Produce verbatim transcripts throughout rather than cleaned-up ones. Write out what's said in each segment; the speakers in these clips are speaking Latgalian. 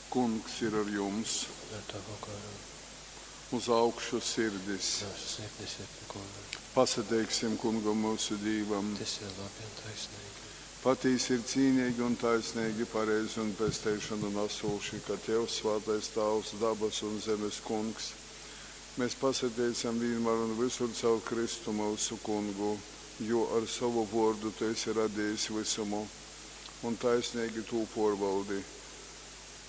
Kungs ir ar jums! Un ar tavu garu. Uz augšu sirdis! Myusu sirdis ir pi Kunga. Pasateiksim Kungam myusu Dīvam! Tys ir labi un taisneigi. Patīsi ir cīneigi un taisneigi, pareizi un pesteišonu nasūši, ka Tev, svātais Tāvs, dabasu un zemes Kungs, mēs pasateicam vīnmār un vysur caur Kristu myusu Kungu, jo ar sovu vōrdu Tu esi radejis vysumu un taisneigi tū pōrvaldi.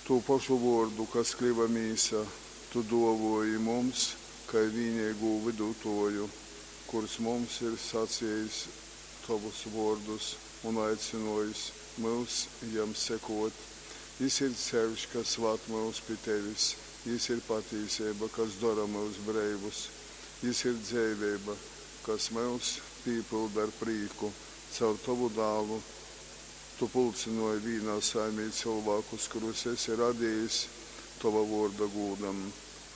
Tū pošu Vōrdu, kas kliva mīsa, Tu dōvōji mums kai vīneigū Vydutōju, kurs mums ir sacejis Tovus vōrdus un aicynōjis myus Jam sekōt. Jys ir ceļš, kas vad myus pi Tevis, Jys ir patīseiba, kas dora myus breivus, Jys ir dzeiveiba, kas myus pīpylda ar prīku. Caur Tovu Dālu Tu pulcynōji vīnā saimē cylvākus, kurus esi radejis Tova vōrda gūdam,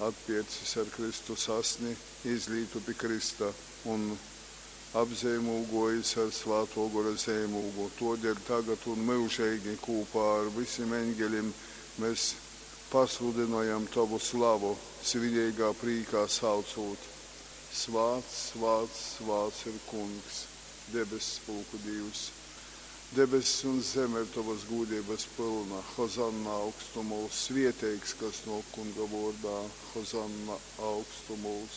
atpērcis ar Kristus Asni, izlītu pi krysta, un apzeimūgōjis ar Svātō Gora zeimūgu. Tōdēļ tagad un myužeigi kūpā ar visim eņgelim mes pasludynojam Tovu slavu, svineigā prīkā saucūt, Svāts, svāts, svāts ir Kungs, debesspulku Dīvs! Debess un zeme ir Tovas gūdeibas pylna. Hozanna augstumūs! Svieteigs, kas nōk Kunga vōrdā! Hozanna augstumūs!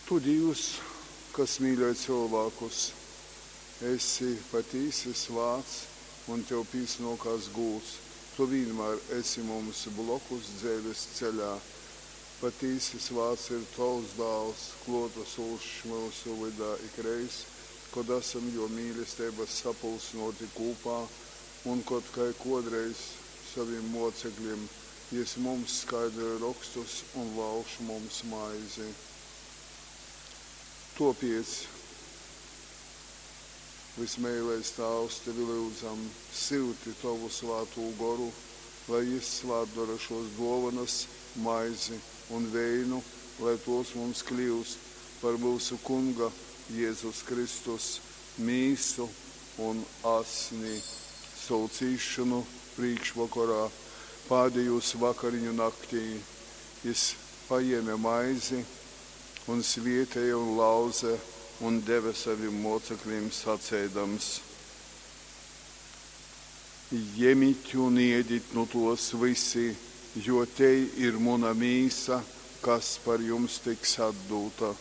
Tu, Dīvs, kas mīļoj cylvākus, esi patīsi svāts un Tev pīsnōkās gūds. Tu vīnmār esi mums blokus dzeives ceļā. Patīsi svāts ir Tovs Dāls, klōtasūšs myusu vydā ikreiz, kod asam Jō mīlesteibas sapulcynōti kūpā un kod, kai kōdreiz sovim mōceklim, Jys mums skaidroj Rokstus un lauž mums maizi. Tōpēc, vysmeilais Tāvs, Tevi lyudzam, syuti Tovu Svātū Goru, lai Jys svātdora šōs dōvonas, maizi un veinu, lai tōs mums kļyust par myusu Kunga Jezus Kristus mīsu un asni. Sovu cīsšonu prīškvokorā, pādejūs vakariņu naktī, Jys pajēme maizi un svētēja un lauze un deve sovim mōceklim saceidams. Jemit un ēdit nu tōs vysi, jo tei ir muna mīsa, kas par jums tiks atdūta.